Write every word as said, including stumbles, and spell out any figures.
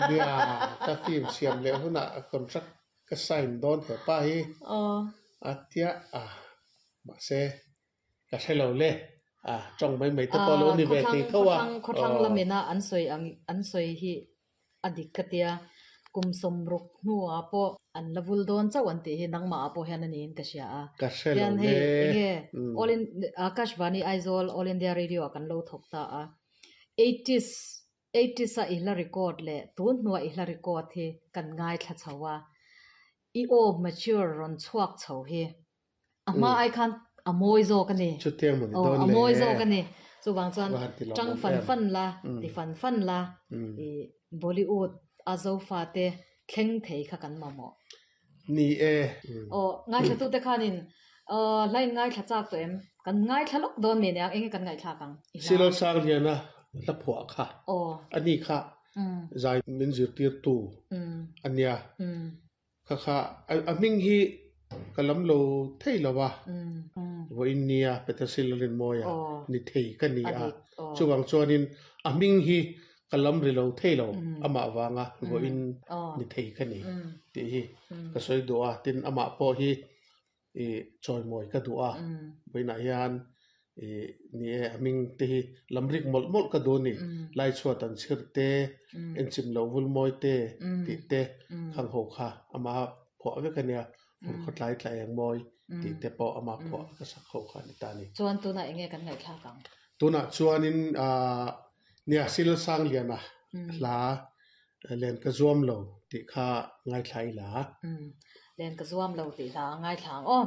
Nia ka film siam leh hunah contract ka sign dawn hepa hi a tia a mahse ka hre lo le a tawng mai mai te pawh lo ni ve thei tho a. Khawthlang lamina an sawi ang an sawi hi a dik ka tia kum sawmruk hnuah pawh an la vul dawn chauh an tih hi nangmah ah pawh hian a niin ka hria a. Ka hre lo Hian hei le. enge All in Akashvani Aizawl All India Radio ah kan lo thawk ta a. eighties eighties a i hla record leh tun hnuah i hla record hi kan ngaithla chho a. I aw mature rawn chhuak chho hi a hma ai khan a mawi zawk a ni. Chutiang maw ni Aw dawn a le. mawi zawk a ni. Chuvang chuan Va han ti tang lawmawm fan em. fan la ti fan fan la i Bollywood a zofa te thleng thei kha kan mamawh. Ni e. Aw ngaithla tu te khanin aw hlain ngaithla chak tawh em? Kan ngaithla lawk dawn mi nia enge kan ngaihthlak ang? I hla. Silal sang liana hla phuah kha. Aw. Ani kha zai min zirtir tu ania. Kha kha a hming hi ka lam lo thei lo a. Vawiin nia Peter Silalin mawia ni thei ka ni a. Chuvang chuanin a hming hi ka lam ri lo thei lo amah vanga vawiin ni thei ka ni tih hi ka sawi duh a. Tin amah pawh hi i chawimawi ka duh a. Vawiinah hian i ni e a hming te hi lam rik mawlh mawlh ka duh a ni. Lai chhuat an chhir te, enchim loh vul mawi te tih te khang ho kha ama phuah vek a nia. Fur khawtlai tla eng mawi tih te pawh ama phuah ka sak ho kha a ni ta a ni. Chuan tunah enge kan ngaihthlak ang? Tunah chuanin ah nia Sil sang liana hla len ka zuam lo tih kha ngaithla ila. Len ka zuam lo tih hla ngaithla ang aw.